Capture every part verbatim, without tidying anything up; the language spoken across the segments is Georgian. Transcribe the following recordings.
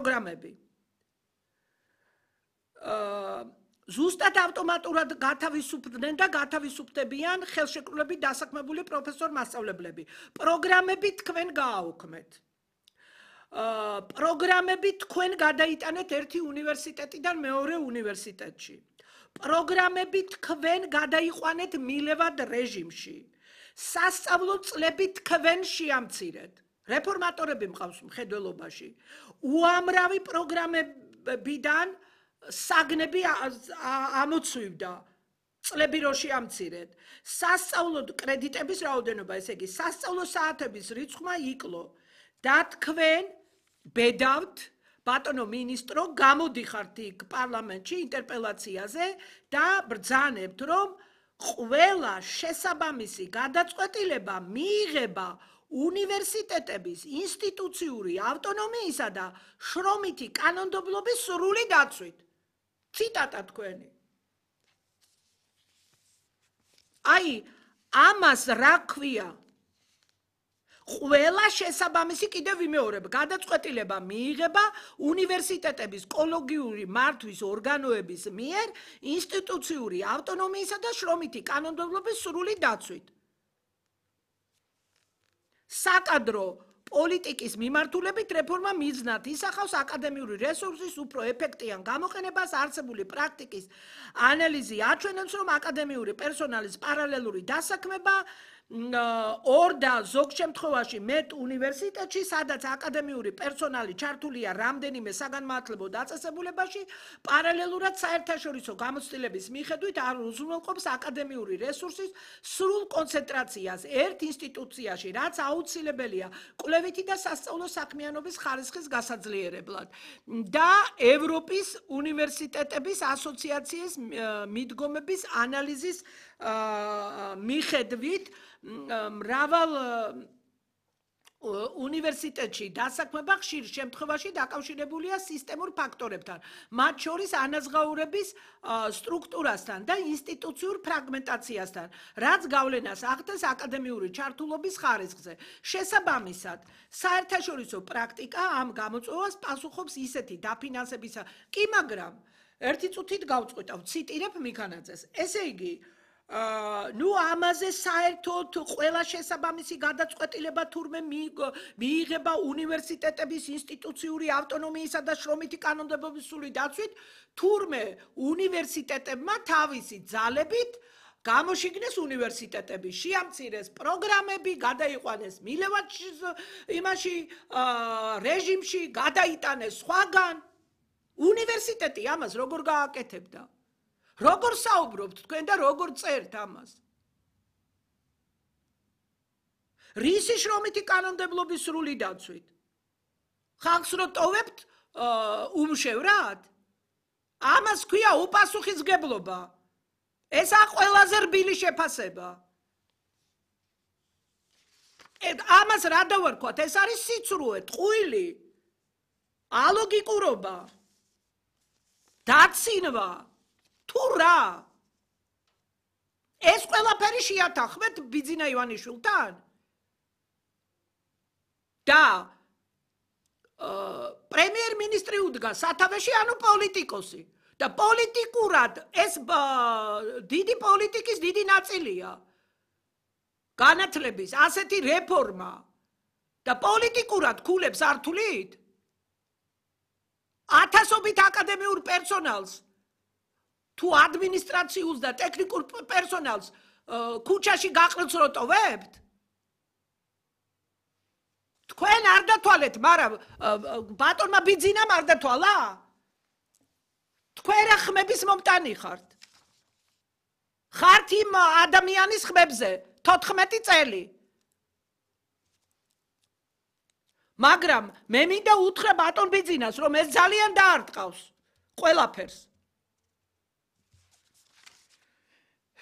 პროგრამები. ზუსტად ავტომატურად გათავისუფლდნენ და გათავისუფდებიან ხელშეკრულებით დასაქმებული პროფესორ მასწავლებლები. პროგრამები თქვენ გააუქმეთ. პროგრამები თქვენ გადაიტანეთ ერთი უნივერსიტეტიდან მეორე უნივერსიტეტში. პროგრამები თქვენ გადაიყვანეთ მილევად რეჟიმში. სასწავლო წლები თქვენ შეამცირეთ. რეფორმატორები მყავს მხედველობაში. უამრავი პროგრამებიდან საგნები ამოცვივდა. წლები რო შეამცირეთ. სასწავლო კრედიტების რაოდენობა, ესე იგი, სასწავლო საათების რიცხვმა იკლო და თქვენ ბედავთ, ბატონო მინისტრო, გამოდიხართ იქ პარლამენტში ინტერპელაციაზე და ბრძანებთ, რომ ყველა შესაბამისი გადაწყვეტილება მიიღება უნივერსიტეტების ინსტიტუციური ავტონომიისა და შრომითი კანონმდებლობის სრული დაცვით. ციტატა თქვენი. აი, ამას რა ქვია? ყველა შესაბამისი კიდევ ვიმეორებ, გადაწყვეტილება მიიღება უნივერსიტეტების კოლეგიური მართვის ორგანოების მიერ ინსტიტუციური ავტონომიისა და შრომითი კანონმდებლობის სრული დაცვით. საკადრო პოლიტიკის მიმართულებით რეფორმა მიზნად ისახავს აკადემიური რესურსის უფრო ეფექტიან გამოყენებას, არსებული პრაქტიკის ანალიზი აჩვენებს, რომ აკადემიური პერსონალის პარალელური დასაქმება ორ და ზოგ შემთხვევაში მეტ უნივერსიტეტში, სადაც აკადემიური პერსონალი ჩართულია რამდენიმე საგანმანათლებლო დაწესებულებაში, პარალელურად საერთაშორისო გამოცდილების მიხედვით არ უზრუნველყოფს აკადემიური რესურსის სრულ კონცენტრაციას ერთ ინსტიტუციაში, რაც აუცილებელია კვლევითი და სასწავლო საქმიანობის ხარისხის გასაძლიერებლად. და ევროპის უნივერსიტეტების ასოციაციის მიდგომების ანალიზის მიხედვით მრავალ უნივერსიტეტში დასაქმება ხშირ შემთხვევაში დაკავშირებულია სისტემურ ფაქტორებთან, მათ შორის ანაზღაურების სტრუქტურასთან და ინსტიტუციურ ფრაგმენტაციასთან, რაც გავლენას ახდენს აკადემიური ჩართულობის ხარისხზე. შესაბამისად, საერთაშორისო პრაქტიკა ამ გამოწვევას პასუხობს ისეთი დაფინანსებისა. კი, მაგრამ ერთი წუთით გავწყვეტავ, ციტირებ მიქანაძეს. ესე იგი, ნუ ამაზე საერთოდ ყველა შესაბამისი გადაწყვეტილება თურმე მიიღება უნივერსიტეტების ინსტიტუციური ავტონომიისა და შრომითი კანონმდებლობის სრული დაცვით, თურმე უნივერსიტეტებმა თავისი ძალებით გამოშიგნეს უნივერსიტეტები, შეამცირეს პროგრამები, გადაიყვანეს მილევად იმაში რეჟიმში, გადაიტანეს სხვაგან. უნივერსიტეტი ამას როგორ გააკეთებდა? როგორ საუბრობთ თქვენ და როგორ წერთ ამას? რისი შრომითი კანონმდებლობის სრული დაცვით? ხალხს რო ტოვებთ უმშევრად? ამას ქვია უპასუხისმგებლობა. ესა ყველაზე რბილი შეფასება. ამას რა დავარქვათ? ეს არის სიცრუე, ტყუილი, ალოგიკურობა, დაცინვა. თუ რა? ეს ყველაფერი შეათანხმეთ ბიძინა ივანიშვილთან? და პრემიერ-მინისტრი უდგა სათავეში, ანუ პოლიტიკოსი. და პოლიტიკურად ეს დიდი პოლიტიკის დიდი ნაწილია. განათლების ასეთი რეფორმა და პოლიტიკურად ქულებს არ თვლით? ათასობით აკადემიურ პერსონალს თუ ადმინისტრაციულს და ტექნიკურ პერსონალს ქუჩაში გაყრილს რო ტოვებთ? თქვენ არ დათვალეთ, მაგრამ ბატონმა ბიძინამ არ დათვალა? თქვენ რა ხმების მომტანი ხართ? ხართ იმ ადამიანის ხმებზე თოთხმეტი წელი. მაგრამ მე მინდა უთხრა ბატონ ბიძინას, რომ ეს ძალიან დაარტყავს ყველაფერს.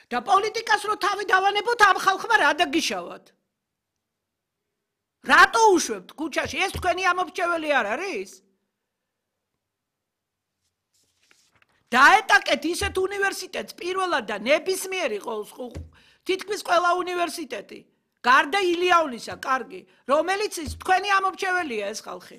და პოლიტიკას რო თავი დავანებოთ, ამ ხალხმა რა დაგიშავათ? რატო უშვებთ ქუჩაში? ეს თქვენი ამომრჩეველი არ არის? დაეტაკეთ ისეთ უნივერსიტეტს პირველად და ნებისმიერ იყოს თითქმის ყველა უნივერსიტეტი, გარდა ილიავნისა, კარგი, რომელიც თქვენი ამომრჩეველია ეს ხალხი.